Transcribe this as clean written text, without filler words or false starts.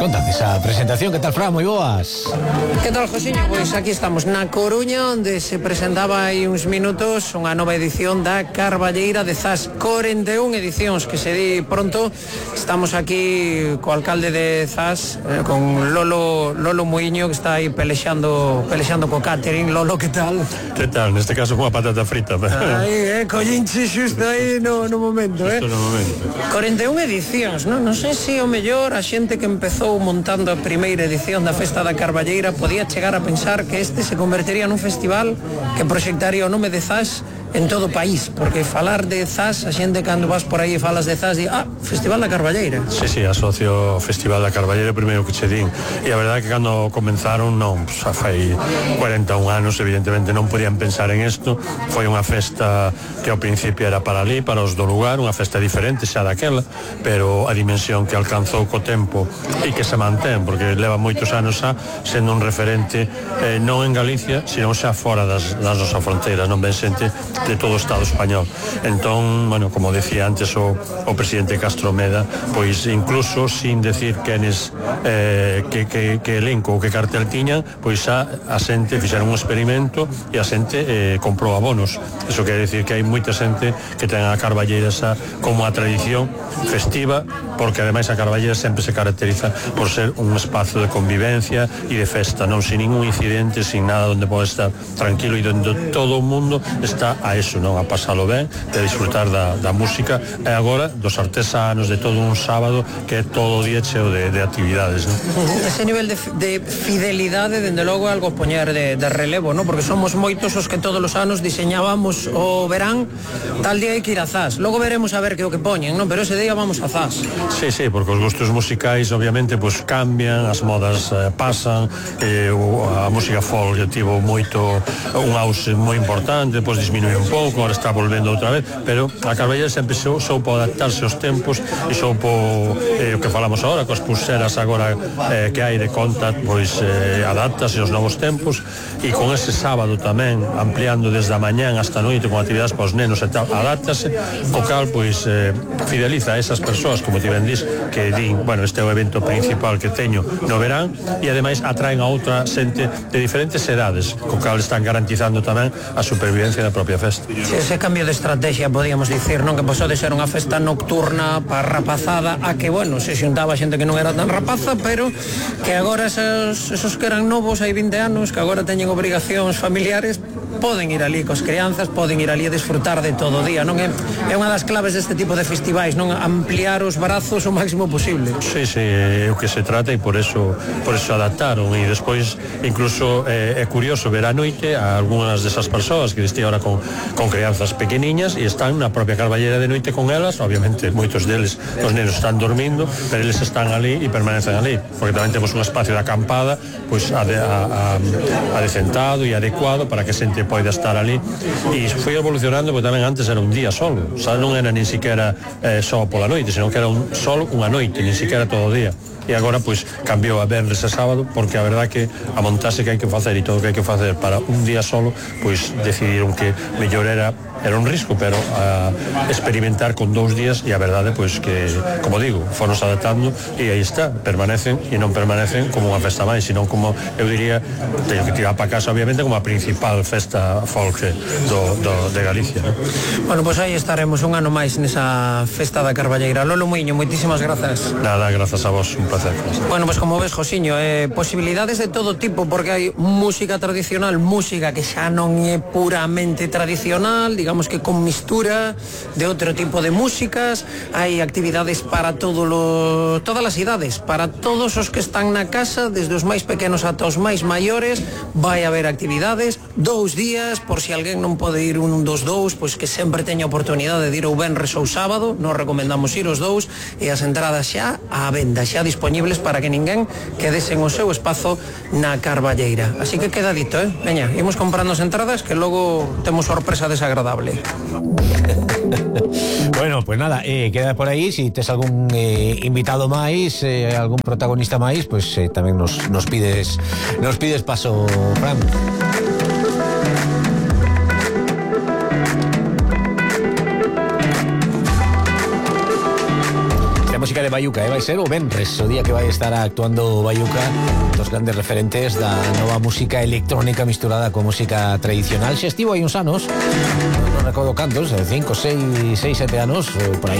contan esa presentación. Que tal, Fran? Moi boas. Que tal, Josiño? Pois aquí estamos na Coruña, onde se presentaba hai uns minutos unha nova edición da Carballeira de Zas. 41 edicións, que se di pronto. Estamos aquí co alcalde de Zas, con Lolo Muiño, que está aí pelexando co catering. Lolo, que tal? Que tal? Neste caso con a patata frita. Aí, collinche xusto aí no momento, Xusto no momento. 41 edicións, non sei se o mellor a xente que empezou montando a primeira edición da Festa da Carballeira podía chegar a pensar que este se convertería nun festival que proxectaría o nome de Zas en todo o país, porque falar de Zas, a xente cando vas por aí e falas de Zas, di, Festival da Carballeira. Sí, asocio o Festival da Carballeira primeiro que che din, e a verdade que cando comenzaron non, xa fai 41 anos, evidentemente non podían pensar en isto. Foi unha festa que ao principio era para ali, para os do lugar, unha festa diferente xa daquela, pero a dimensión que alcanzou co tempo e que se mantén, porque leva moitos anos xa sendo un referente non en Galicia, sino xa fora das nosas fronteiras, non ben xente de todo o Estado español. Entón, bueno, como decía antes o presidente Castro Meda, pois incluso sin decir quenes que elenco ou que cartel tiñan, pois xa a xente fixeron un experimento e a xente comprou abonos. Eso quere decir que hai moita xente que ten a Carballeira xa como a tradición festiva, porque ademais a Carballeira sempre se caracteriza por ser un espazo de convivencia e de festa, non sin ningún incidente, sin nada, onde pode estar tranquilo e onde todo o mundo está a eso, non, a pasalo ben, de disfrutar da música e agora dos artesanos, de todo un sábado que é todo o día cheo de actividades, non? Ese nivel de fidelidade, dende logo, algo poñer de relevo, non? Porque somos moitos os que todos os anos diseñábamos o verán, tal día hai que ir a Zas, logo veremos a ver que o que poñen, non? Pero ese día vamos a Zas. Sí, porque os gustos musicais obviamente pues cambian, as modas pasan, a música folk tivo moito un auxe moi importante, depois disminuiu un pouco, agora está volvendo outra vez, pero a Carballeira sempre soupo adaptarse aos tempos e soupo o que falamos agora, coas pulseras agora que hai de contact, pois adaptase aos novos tempos, e con ese sábado tamén ampliando desde a mañán hasta a noite con actividades para os nenos e tal, adaptase, o cal pois fideliza a esas persoas, como ti ben dís, que din, bueno, este é o evento principal que teño no verán, e ademais atraen a outra xente de diferentes edades, co cal están garantizando tamén a supervivencia da propia festa. Ese cambio de estrategia, podíamos dicir, non? Que pasou de ser unha festa nocturna para rapazada a que, bueno, se xuntaba xente que non era tan rapaza, pero que agora esos que eran novos hai 20 anos, que agora teñen obrigacións familiares, poden ir ali cos crianzas, poden ir ali a disfrutar de todo o día, non? É unha das claves deste tipo de festivais, non? Ampliar os brazos o máximo posible. Sí, é o que se trata, e por eso adaptaron, e despois incluso é curioso ver a noite a algunhas desas persoas que estou ahora con crianzas pequeniñas e están na propia Carballeira de noite con elas, obviamente moitos deles, os nenos están dormindo, pero eles están ali e permanecen ali, porque tamén temos un espacio de acampada pois adecentado e adecuado para que a xente poida estar ali, e foi evolucionando, porque tamén antes era un día solo, xa non era nin siquiera só pola noite, senón que era solo unha noite, nin siquiera todo o día. E agora pois cambiou a venres e sábado, porque a verdad que a montase que hai que facer e todo o que hai que facer para un día solo, pois decidiron que mellor era un risco, pero a experimentar con 2 días, e a verdade pois que, como digo, fonos adaptando e aí está, permanecen e non permanecen como unha festa máis, sino como, eu diría, teño que tirar para casa obviamente como a principal festa folk de Galicia, ¿no? Bueno, pois aí estaremos un ano máis nesa Festa da Carballeira. Lolo Muiño, moitísimas grazas. Nada, grazas a vos, un placer. Bueno, pois como ves, Josiño, posibilidades de todo tipo, porque hai música tradicional, música que xa non é puramente tradicional, digamos que con mistura de outro tipo de músicas, hai actividades para todas as idades, para todos os que están na casa, desde os máis pequenos ata os máis maiores, vai haber actividades, 2 días, por si alguén non pode ir un dos 2, pois que sempre teña oportunidade de ir o venres ou sábado, nos recomendamos ir os 2, e as entradas xa á venda, xa disponibles para que ninguén quedese en o seu espazo na Carballeira. Así que queda dito, veña, imos comprando as entradas, que logo temos sorpresa desagradable. Bueno, pues nada, queda por aí. Si tes algún invitado máis, algún protagonista máis, pues tamén nos pides paso, Fran. de Bayuca, vai ser o venres, o día que vai estar actuando Bayuca, dos grandes referentes da nova música electrónica misturada con música tradicional. Xa estivo hai uns anos, non recordo cantos, 5, 6, 7 anos, por aí.